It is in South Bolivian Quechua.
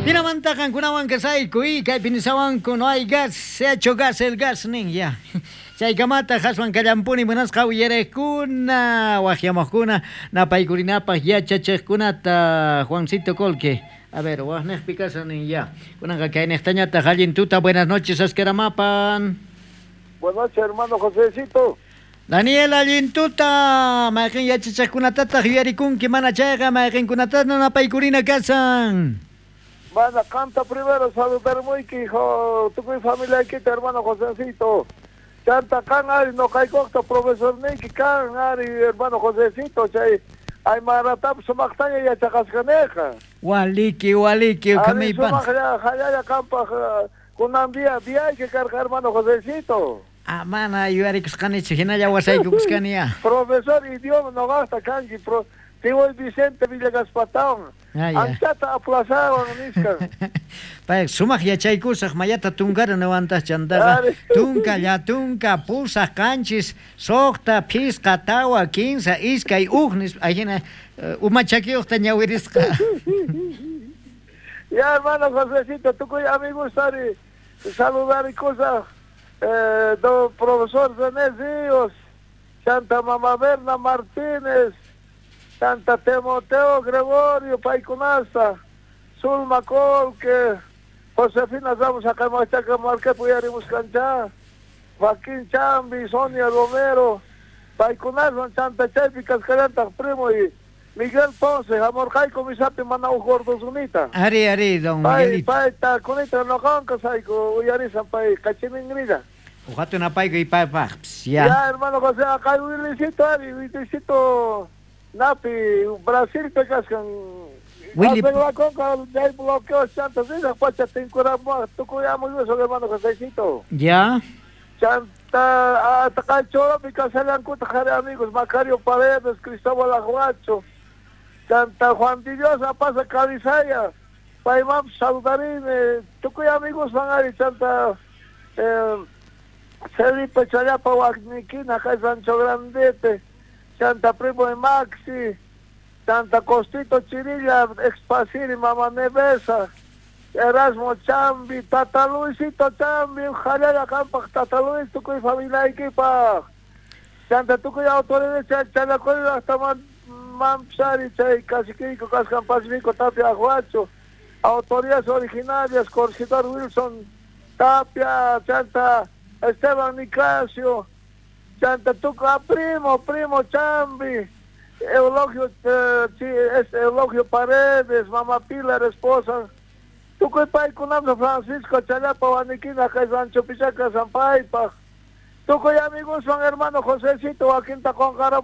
Jinamanta qankunawan kasayku y kaypi nisawanku no hay gas, se ha hecho gas el gas nin ya. Chaykamata haswan kallampuni munasqa uyariqkuna, waqyamuqkuna, napaykurinapaq yachachiqkunata Juancito Colque. A ver, waqniqpi kashan nin ya. Kunanqa kayniqtañataq allin tuta, buenas noches Ascaramapan. Buenas noches, hermano Josecito. Daniel, allin tuta, mayqin yachachiqkunatataq yuyarikunki mana chayqa mayqinkunatataq napaykurina kashan. Mana qamta primero saludarmuyki, hijo, tukuy familiaykita, hermano Josecito. Chanta kan ari noqaykuqta profesorniyki kan ari hermano Josecito, chay aymaratapas sumaqtaña yachaqasqaneqa. Waliki, waliki, Ari kamaypan. sumaqlla hallalla qampaq kunan día diyayki karqa hermano Josecito. Ah, mana yuyarikusqanichu, hinalla wasaykukusqani ya. Profesor idioma noqaqta kanki, pro, Tiboy Vicente Villegaspatawan. Ah, ya. Anchata aplazawan nisqa. Pay sumaq yachaykusaq mayata tunkara niwantaq chantaqa. Ari. Tunka, llatunka, pusaq, qanchis, suqta, phisqa, tawa, kinsa, iskay, uj nispa. Ahina uma chakiyuqta ñawirisqa. Ya hermano Josecito, tukuy amigos ari saludarikusaq do profesor René Ríos, Santa Mama Berna Martínez, Santa Timoteo Gregorio Paykunasta, Zulma Colque, Josefina Ramos Acamachaca Marquepo Yarimuscancha, Joaquín Chambi, Sonia Romero, Paykunaswan Chanta Chaypi Cascarantaq primo y Miguel Ponce, Amorjaico Misapi Manau Gordozunita. Ari, ari, don Pay, Miguelito. pay, ta, kunita noqanqa sayku uyarisan pay kachiningrilla. Uqatu napayku y paypaqpis, ya. Ya, hermano José, acá Willicito, ari, Willicito, Napi, Brasil te kaskan. Willy- Arreglaconqa, chay bloqueo chanta, risaq pacha tinkuramua, tukuyamo eso, hermano Josecito. Ya. Chanta, hasta Cachoropi, Casalancuta, jare amigos, Macario Paredes, Cristóbal Aguacho, Chanta Juan de Dios, Apasa Cabizaya, Paimam Saludarine, tukuy amigos van ari, Chanta, Felipe Chayapa Wagniquina, acá Sancho Grandete, Chanta Primo de Maxi, Chanta Costito Chirilla, Expasiri, Mama Nevesa, Erasmo Chambi, Tata Luisito Chambi, Jalala Campa, Tata Luis, tukuy familia equipa. Chanta tukuy autoridades, Chalacoy, hasta Mampsari, Chay, Caciquico, Cascan Pacífico, Tapia, Aguacho, autoridades originarias, Corregidor Wilson, Tapia, Chanta Esteban Nicasio, Chanta Tuca, primo, primo Chambi, Eulogio, es Eulogio Paredes, Mamá Pilar, esposa, Tukuy paykunamsa Francisco Chayapa, Waniquina, kay Sancho Pichaca, Zampaypa. Tukuy amigos son hermano Josecito, Joaquín Tacón Buscar.